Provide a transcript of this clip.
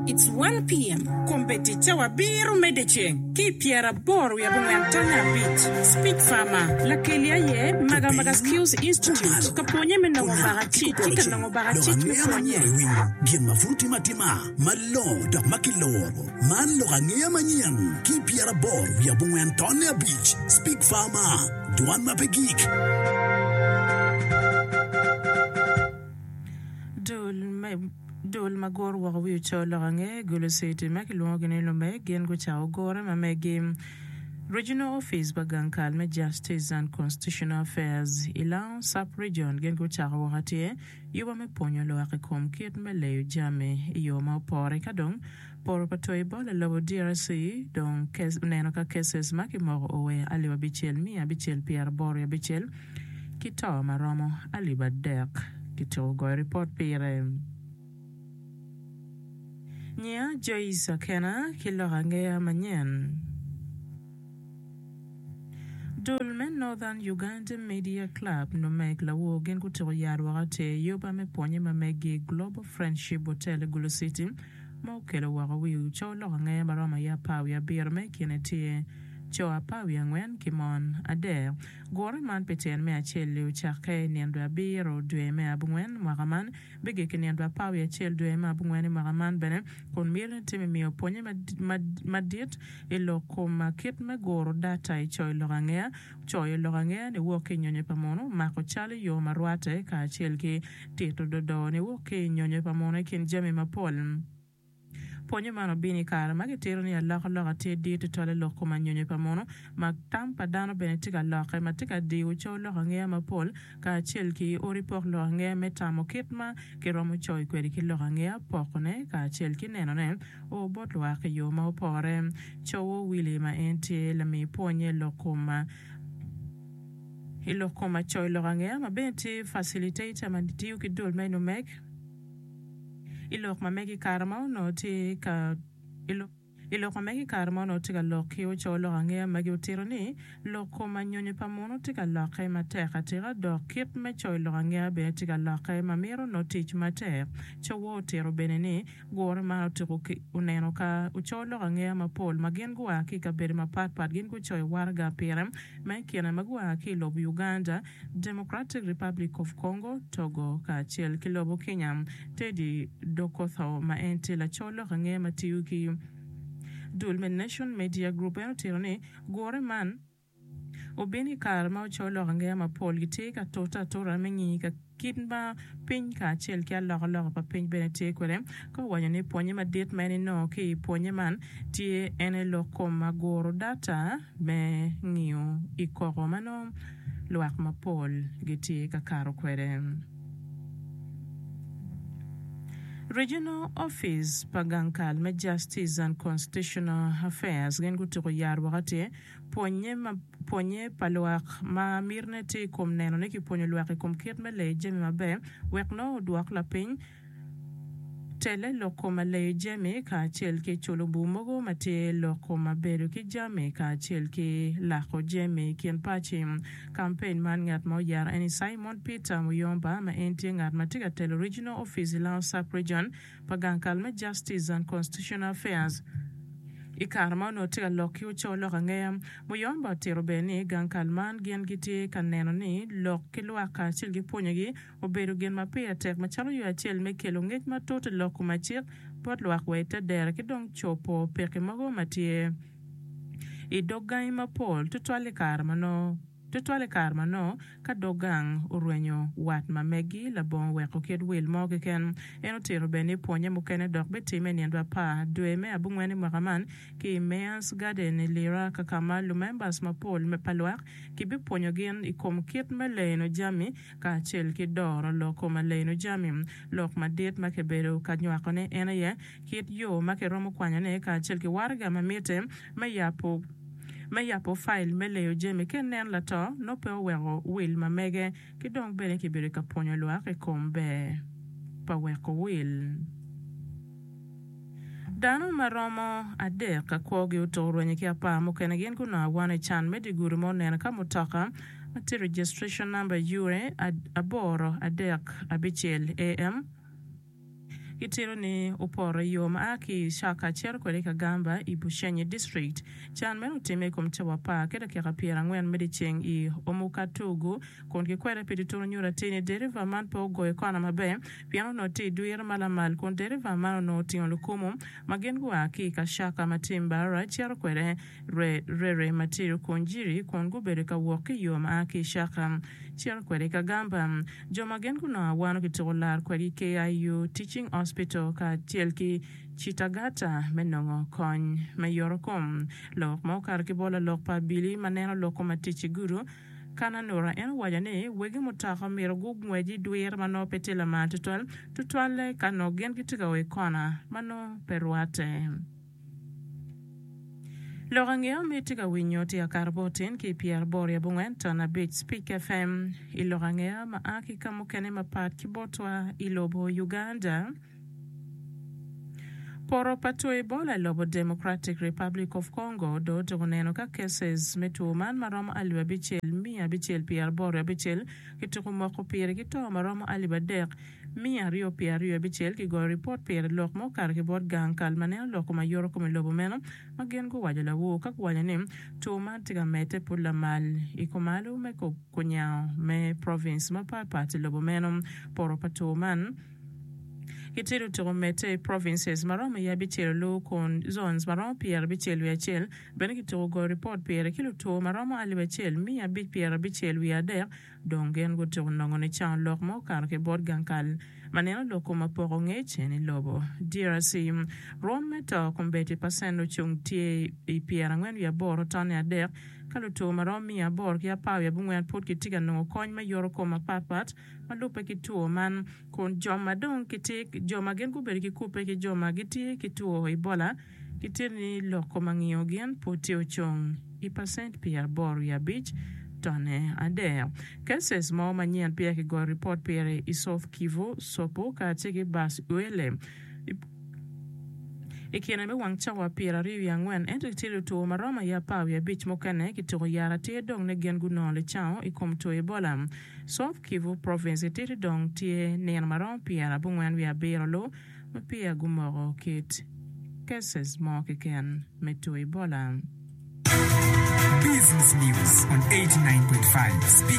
It's one PM. Kombeddi cawa abiro me dyeceng ki i pyeraboro wiye abongwen tonne abic. Speech Farmer, Lakeli aye Magamaga Skills Institute ka pwonye me nongo bakacic ki ka nongo bakacic me pwonye. Gin ma pud otime atima malongo dok ma kiloro. Man lok angeya manyen ki i 84 tonne abic. Speak Farmer, Dwan ma pe gik. Dul me Dul ma guro woko wi oco lok ange Gulu City ma kilwongogi ni Lumek gin gucako gure ma megi Regional Office pa gang kal me Justice and Constitutional Affairs i Lango Sub-Region gin gucako woko atir yuba me pwonyo lwak i kom kit me leyo jami i yo ma opore ka dong poto pa two Ebola lobo DRC dong oneno ka cases ma kimoko owe 6686 ki to ma romo 3000 kityeko goyo ripot pire. Nyiya Joyce Akena ki lok angeya manyen. Dul me Northern Uganda Media Club, NUMEC, lawor gin gutuko yat woko atir i yuba me pwonye ma megi Global Friendship Hotel i Gulu City ma okelo woko wi co lok angeya ma romo aye apar wiye abiro ma i kine tye co apar wiye angwen ki mon adek. Gure man pi tyen me acel-li ocakke i nino abiro dwe me abongwen mwaka man bigik i nino apar wiye acel dwe me abongwen i mwaka man bene kun mitine tye me miyo pwonye madit I lok kom kit me guro data i coyo lok angeya, coyo lok angeya niwok ki i nyonyo pa munu, mako cal i yo ma rwate, kacel ki tito dodo niwok ki i nyonyo pa munu i kin jami mapol. Pwonyo man obino i kare ma kitito ni alokaloka tye dit tutwal i lok kom anyonyo pa munu, ma tam pa dano bene tye ka lokke, ma tye ka diyo coyo lok angeya mapol, kacel ki odi pok lok angeya me tamo kit ma kiromo coyo kwede ki lok angeya, pokone, kacel ki nenone. O bot lwak i yo ma opore. Cowo Willie ma en tye lami pwonye i lok kom i lok kom acoyo lok angeya ma bene tye facilitator ma tiyo ki dul me NUMEC i lok ma mege i kare ma onongo tye ka i lok ma mege i kare ma onongo tye ka lok ki oco lok angeya magi otito ni lok kom anyonyo pa munu tye ka lokke matek atika dok kit me coyo lok angeya bene tye ka lokke ma mito nongo tic matek. Cowo otito bene ni Gure man otuko ki oneno ka oco lok angeya mapol ma gin gua ki i kabedo mapat pat gin gucoyo waraga pire ma i kine ma gua ki i lobo Uganda, Democratic Republic of Congo, Togo kacel ki lobo Kenya. Teddy Dokotho ma en tye laco lok angeya ma tiyo ki dul me Nation Media Group en otito ni gure man Obino i kare ma oco lok angeya mapol gitye ka tute atuta me ngiyo ka kit ma piny kacel ki alokaloka pa piny bene tye kwede. Ka owaco ni pwonye madit ma en enongo ki i pwonye man tye en aye lok kom ma guro data me ngiyo i koko ma nongo lwak mapol gitye ka kato kwede. Regional Office pa gang kal me Justice and Constitutional Affairs gin gutuko yar woko atir Pwonnye ma pwonnye pa lwak ma mitine tye i kom neno ni kipwonyo lwak i kom kit me leyo jami maber wek nongo odwok lapiny tele lok kom aleyo jami kacel ki culo bur mogo ma tye lok kom abedo ki jami kacel ki lako jami i kin paci. Kampen man ngat ma oyero en ni Simon Peter Muyomba ma en tye ngat ma tye ka telo Regional Office i Lango Sub-Region pa gang kal me Justice and Constitutional Affairs. I kare ma onongo tye ka lok ki oco lok angeya, Muyomba otito bene ni gang kal man gin gitye ka neno ni lok ki lwak kacel ki pwonyogi obedo gin ma pire tek macalo yo acel me kelo ngec matut i lok kom acik bot lwak wa i te dero ki dong cobo pekki mogo ma tye i dog gangi mapol tutwal i kare ma nongo Tutwal i kare ma nongo ka dog gang orwenyo wat ma megi labongo weko kit wil mo keken. En otito bene ni pwonye mukene dok bitimme i nino apar dwe me abongwen i mwaka man ki i Mayor's Garden i Lira ka ka ma lumembers mapol pa lwak kibipwonyo gin i kom kit me leno jami kacel ki doro lok kom aleno jami. Lok madit ma kibedo ka nywakone en aye kit yo ma kiromo kwanyone kacel ki waraga ma mitte me yabo me yabo fail me leyo jami ka inen lato nongo pe oweko wil ma mege ki dong bene kibedo ka pwonyo lwak i kom ber pa weko wil. Dano ma romo adek ka kwogi otuko rwenyo ki apar mukene gin gunongo awano i can me dye gudo ma oneno ka mutoka ma tye registration number ure aboro adek abicel AM. Gitito ni opoto i yo ma a ki i Shaka cito kwede i Kagamba i Bushenyi District. Can meno otimme i kom cawa apar ki dakika pyerangwen me dyeceng i Omukatugu kun kikwede pi tutunu nyuto atir ni deriva man pe ogoyo kona maber pien onongo tye i dwiro ma lamal kun deriva man onongo otingo lukumu ma gin gua ki i Kashaka ma tye i Mbarara cito kwede Rere ma tye i Rukungiri kun gubedo ka wok ki i yo ma a ki i Shaka cito kwede i Kagamba. Jo ma gin gunongo awano kituko lar kwedgi KIU Teaching Hospital kacel ki Chitagata me nongo kony me yoto kom. Lok ma okato ki bot lalok pa abili ma neno lok kom atic i gudo, Kananura en owaco ni wegi mutoka omyero gungwec i dwir ma nongo pe tye lamal tutwal, tutwalle ka nongo gin gitye ka o i kona ma nongo pe rwatte. Lok angeya ma itye ka winyo tye ka kato bot tin ki i pyeraboro i abongwen ton abic Speak FM i lok angeya ma a ki ka mukene mapat ki botwa i lobo Uganda. Poto pa two Ebola i lobo Democratic Republic of Congo dong otyeko neno ka cases me two man maromo alip 6986 kityeko moko pire ki to maromo 3226 kigoyo ripot pire lok ma okato ki bot gang kal ma neno lok kom ayoto kom i lobo meno ma gin guwaco lawor ka guwaco ni two man tye ka medde pud lamal i kumalo me kunyango me province mapat pat i lobo meno. Poto pa two man Gitye lutuku medde i provinces ma romo i abicel olu kun zones ma romo 71 bene kituku goyo ripot pire ki lutwo ma romo 1553 dong gin gutuku nongo nicango lok ma okato ki bot gang kal ma neno lok kom apoko ngec en i lobo DRC. Rwom me to kombeddi pacent ocung tye i 48 tonne adek ka lutwo ma romo 814 pud gitye ka nongo kony me yoto kom mapatpat ma lubbe ki two man, kun jo ma dong gitye jo ma gin gubedo ki kubbe ki jo ma gitye ki two Ebola gitye ni lok kom angiyo gin pud tye ocung i pacent 85 tonne adek. Cases mo manyen peya kigoyo ripot pire i South Kivu, Sopo kacel ki Bas Uele. I kine me wang cawa 24, ento tye lutwo ma romo aye apar wiye abic mukene kituko yat atir dong ni gin gunongo licango i kom two Ebola. South Kivu Province ititi dong tye nino ma romo 97 lu ma peya gumoko kit cases mo keken me two Ebola. Business News on 89.5.